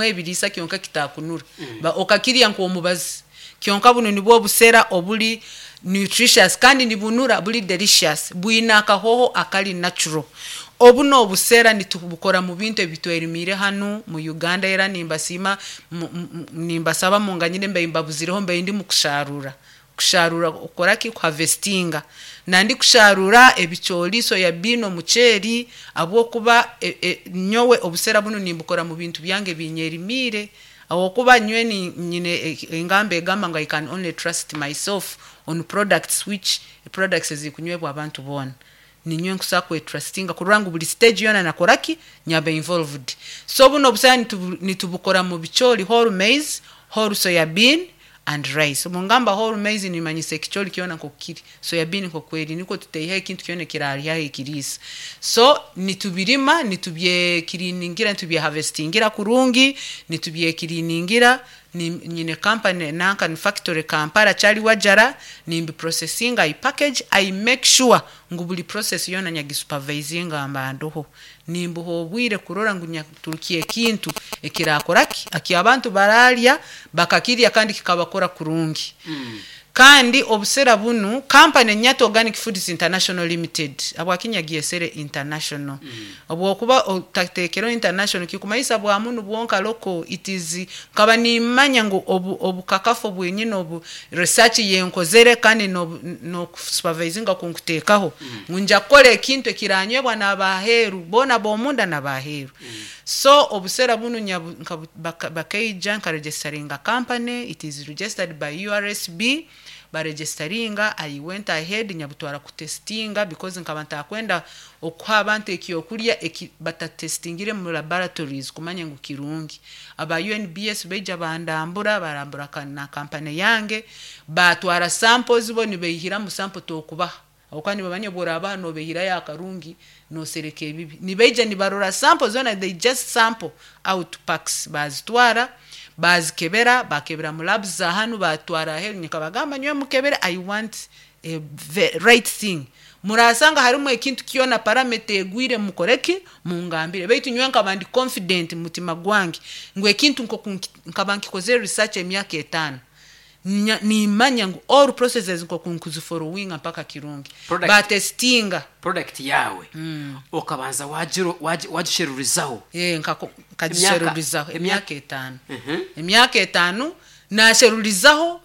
Ebiriisa kyonka kitakunura. Okakirya nk'omubazi, kyonka bunu nibwo obusera obuli nutritious kandi nibunura, buli delicious, bwine akahoho akali natural. Obu n'obusera nitubukora mu bintu ebitwerimiire hanu mu Uganda. Era nimbasiima, nimbasaba munganyire mbaire mbabuzireho, mbaire ndi mukushaarura, kushaarura okukoraki, kuharvestinga, nandi kushaarura ebicoori, soya bean, omuceeri, habwokuba nyowe obusera bunu nimbukora mu bintu byange ebinyerimiire, habwokuba nyowe nyine engamba egamba ngu "I can only trust myself on products", which products ezikunywebwa abantu boona. Ninyowe nkusobola kwetrustinga kurora ngu buli stage yoona nakoraki, nyaba involved. So bunu obusera nitubukora mu bicoori, whole maize, whole soya bean and rice. Obu ngamba whole maize, nimanyisa ekicoori kyona nk'oku kiri, soya bean nk'oku eri, nikwo tutaihaho ekintu kyona ekiraryaho ekiriisa. So nitubirima, nitubyecleaningira, nitubyeharvestingira kurungi, nitubyecleaningira. Nyine company nanka ni factory Kampala, Kyaliwajjala. Nimbiprocessinga, I package, I make sure ngu buli process yoona nyagisupervisinga, mba ndoho, nimbuha obwire kurora ngu nyaturukya ekintu ekirakoraki, aki abantu bararya bakakirya kandi kikabakora kurungi. Kandi obusera bunu, company Nyata Organic Foods International Limited. Habwaki nyagyesere international? Obwokuba otateekereho international, kikumanyisa bwa munu bwonka local. It is nkaba nimanya ngu obu obukakafu bwenyine, obu research yenkozere kandi n'okusupervisinga kunkuteekaho, ngu nja kukora ekintu ekiranywebwa n'abaheeru boona, b'omunda n'abaheeru. So obusera bunu bakaija nkaregisteringa company. It is registered by URSB. Baregisteringa, I went ahead, nyabutwara kutestinga, because nkaba ntakwenda okuha abantu ekyokurya eki batatestingire mu laboratories kumanya ngu kirungi. Aba UNBS baija bandambura, barambura na kampani yange, batwara samples. Bo nibaihiramu sample, tokubaha, habwokuba nibamanya obworabaha nobeihirayo akarungi, nosereka ebibi. Nibaija nibarora sample zoona. They just sample out packs, bazitwara, bazikebera, bakebera mu labs za hanu, batwara aheeru. Nkabagamba, "Nyowe mukebere, I want a right thing. Murasanga harimu ekintu kyona, parameter egwire, mukoreki, mungambire." Baitu nyowe nkaba ndi confident mu mutima gwange ngu ekintu nkoku nkaba nkikozere research emyaka 5, nimanya ngu all processes nkoku nkuzifollowinga mpaka kirungi. Batestinga. Product yawe okabanza wagisherurizaho? Eh, nkagisherurizaho emyaka 5. Emyaka 5 nasherurizaho,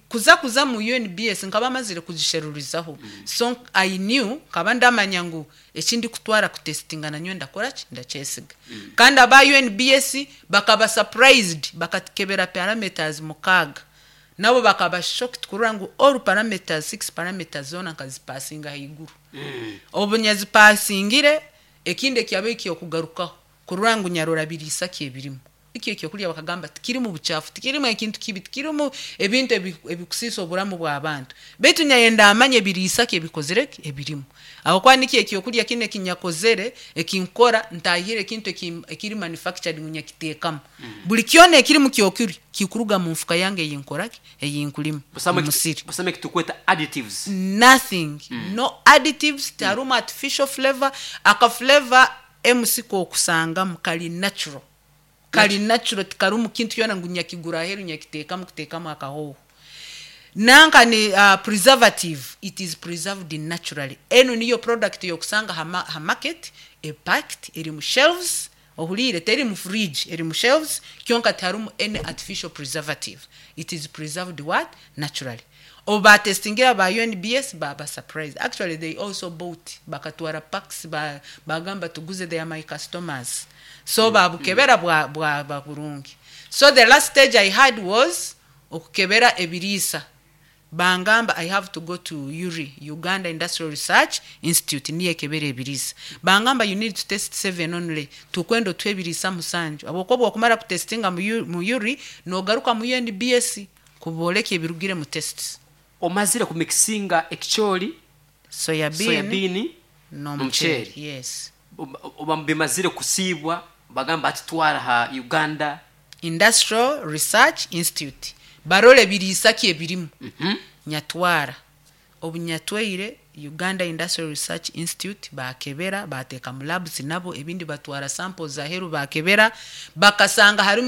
kuza mu UNBS nkaba mazire kugisherurizaho. So I knew, nkaba ndamanya ngu ekindi kutwara kutestinga nanyowe ndakoraki, ndakyesiga. Kandi aba UNBS bakaba surprised, bakakebera parameters 6, nabo bakaba shocked kurora ngu all parameters, six parameters zona nkazipasinga haiguru. Obu nyazipasingire, ekindi ekyabaire kyokugarukaho kurora ngu nyarora biriisa ki ebirimu ikyo ekyokurya. Bakagamba tikirimu buchafu, tikirimu ekintu kibi, tikirimu ebintu ebikusiisa oburamu bw'abantu, baitu nyayenda amanye ebiriisa ki ebikozire ki, ebirimu, habwokuba nikyo ekyokurya kinu ekinyakozere ekinkora, ntahire ekintu ekiri manufactured ngu nyakiteekamu. Buli kyona ekiri mu kyokurya kikuruga mu nfuka yange eyinkoraki, eyinkulima Busamu. Musiri. Busamu ekitukweta additives? Nothing, no additives, tiharumu artificial flavor. Aka flavor mc kokusangamu kali natural, kali natural, tikarumu kintu kyona ngu nyakigura aheru nyakiteekamu kuteekamu akahoho. Nanka ni preservative, it is preserved naturally. Enu niyo product yokusanga ha market, epacked, eri mu shelves, ohuliire, teri mu fridge, eri mu shelves, kyonka tiharumu any artificial preservative. It is preserved what? Naturally. Obu batestingira ba UNBS, baba surprised. Actually, they also bought, bakatwara packs, bagamba tuguze. They are my customers. So babukebera, bwaba burungi. So the last stage I had was okukebera ebiriisa. Bangamba I have to go to URI, Uganda Industrial Research Institute, niyo ekebera ebiriisa. Bangamba, "You need to test seven only, tukwenda otuhe ebiriisa 7, habwokuba bwokumara kutestinga mu URI, nogaruka mu UNBS kuboleka ebirugire mu tests." Omazire kumixinga ekicoori, soya bean, soya bean n'omuceeri. N'omuceeri. Yes. Oba bimazire kusiibwa, bagamba ati twara ha Uganda Industrial Research Institute, barole ebiriisa ki ebirimu. Nyatwara. Obu nyatwaire Uganda Industrial Research Institute, bakebera, bateeka mu labs nabo, ebindi batwara samples aheru, bakebera, bakasanga harimu